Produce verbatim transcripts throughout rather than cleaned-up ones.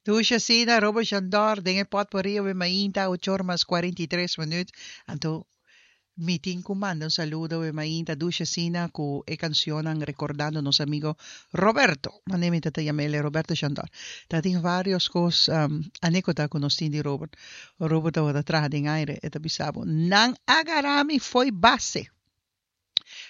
Dushi asina, Robert Jandor, den e potpourri awe mainta, ocho or mas cuarenta y tres minuut. Anto, mi tin cu manda un saludo awe mainta, dushi asina, cu e cancionnan recordando nos amigo Roberto. Mane mi ta ta yam'ele, Roberto Jandor. Ta tin varios cos, um, anecdota cu nos tin di Robert. Robert tabata traha den aire, e ta bisa bo, Nan a gara mi fo'i base.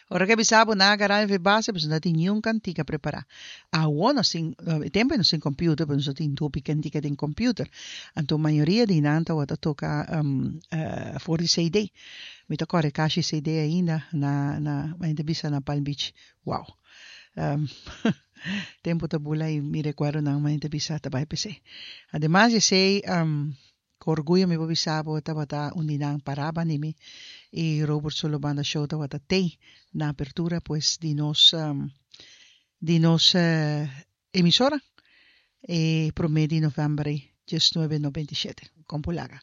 Ora ku e bisa bo nan a gara mi fo'i base, pasobra no tin niun kantika prepará. Awor nos tin, e tempu ei nos tin computer, pero nos no tin hopi kantika den computer. Anto mayoria di nan tabata toka for di C D. Mi ta kòrda e kashi C D ainda na na mi ta bisa na Palm Beach. Wow! Tempu ta bula i mi rekuerdonan mi ta bisa ta bai p'esei. Ademas di esei, Ku orguyo mi por bisa bo tabata un di nan pará banda mi i Robert Solo Banda Show tabata tei na apertura pues di nos di nos emisora e promé di novèmber ei diesnuebe noventa i shete. Kon por laga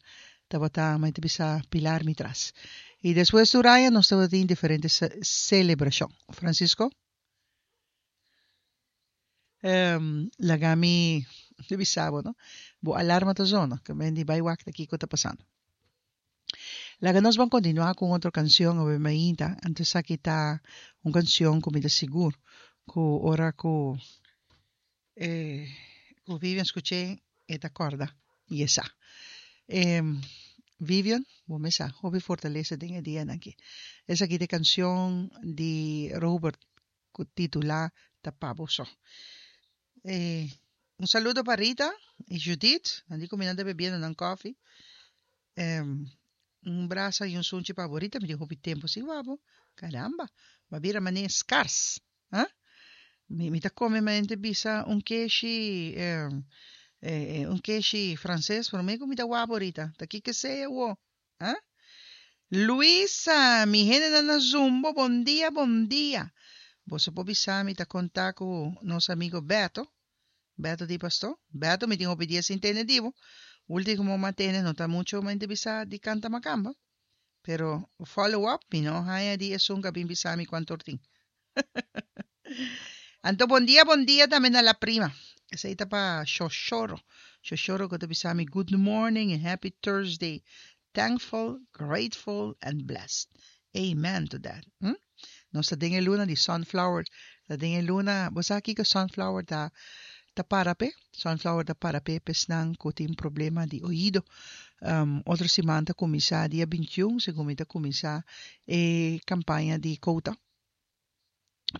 tabata mi ta bisa pilar mi tras. I despues tur aña nos tabatin diferente selebrashon. Francisco? Laga mi bisa bo no. Bo alarma ta zona, ke men di bai wak ta kiko ta pasando. Laga nos ban kontinuá ku un otro kanshon awe mainta, anto esaki ta un kanshon ku mi ta sigur ku ora ku e ku Vivian skuch'é e ta kòrda i e sa. Vivian, bo mes sa hopi fortalesa den e dianan aki. Esaki ta e kanshon di Robert ku titulá Ta pa bo so. E un saludo pa Rita i Judith, nan di ku mi nan ta bebiendo nan kòfi. Un brasa i un sunchi pa bo Rita, mi tin hopi tempu sin wak bo. Caramba, bo a bira manera skars, ha? Mi mi ta kome manera ta bisa un keshi un keshi franses promé ku mi ta wak bo Rita. Ta kiko esei awo? Ha? Luisa, mi hendenan na Zumbo, bon dia, bon dia. Boso por bisa mi ta konta ku nos amigo Beto, Beto di Pastó. Beto, mi tin hopi dia sin tende di bo. Ultimo m'a tende no ta mucho mi ta bisa di kanta makamba. Pero follow up mi no haña di esun ku a bin bisa mi kuantu or tin. Anto bon dia bon dia tambe na la prima. Esei ta pa Shoshoro. Shoshoro ku ta bisa mi good morning and happy Thursday. Thankful, grateful and blessed. Amen to that. Hm? Nos ta den e luna di sunflower. Ta den e luna, bo sa kiko sunflower ta ta para p'e? Sunflower ta para p'e p'esnan ku tin problema di oido. Um, otro siman ta kuminsá dia bintiun, segun mi ta kuminsá e kampaña di kouta.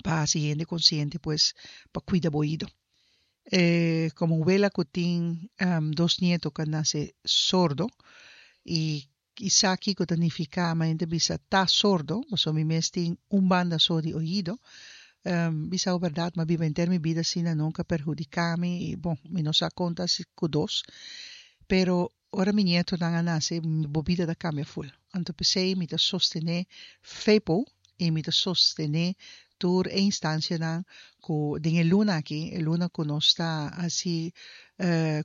pa hasi hende konsiente pues pa kuida bo oido. E komo wela ku tin dos nieto ku a nase sordo i i sa kiko ta nifiká ma hende ta bisa ta sordo pasobra mi mes tin un banda so di oido bisa bo bèrdat mi a biba henter mi bida asina nunka a perhudiká mi i bon mi no sa konta si ku dos pero ora mi nietonan a nase bo bida ta kambia ful. Anto p'esei mi ta sostené FEPO i mi ta sostené tur e instansianan ku den e luna aki, e luna ku nos ta hasi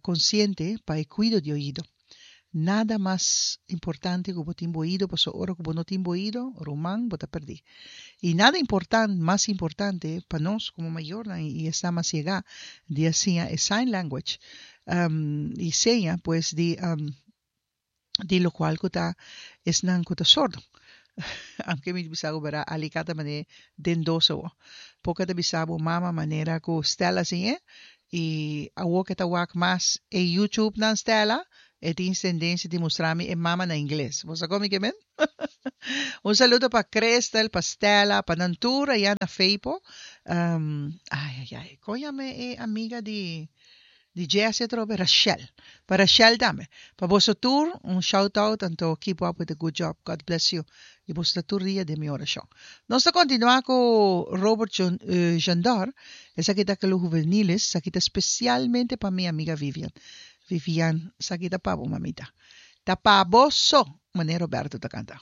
konsiente pa e kuido di oido. Nada mas importante ku bo tin bo oido pasobra ora ku bo no tin bo oido, ruman, bo ta pèrdí. I nada importan mas importante pa nos komo mayornan i esnan mas yegá di a siña e sign language i seña pues di di lokual ku ta esnan ku ta sordo. Aunke mi bisa bo bera alika ta manera den dos awor. Poco ta bisa bo mama manera ku Stella siñ'é i awor ke ta wak mas e YouTube nan Stella e tin tendensia di mustra mi e mama na ingles. Bo sa kon mi ke men? Un saludo pa Christel, pa Stella, pa nan tur aya na Feipo. Ai ai ai, kon yama e amiga di di Jesse atrobe? Rachel. Pa Rachel tambe. Pa boso tur un shout out anto keep up with the good job. God bless you. I boso ta tur dia den mi orashon. Nos ta kontinua ku Robert Jandor. Esaki ta Kelo Juveniles. Esaki ta spesialmente pa mi amiga Vivian. Vivian, esaki ta pa bo mamita. Ta pa bo so, manera Roberto ta kanta.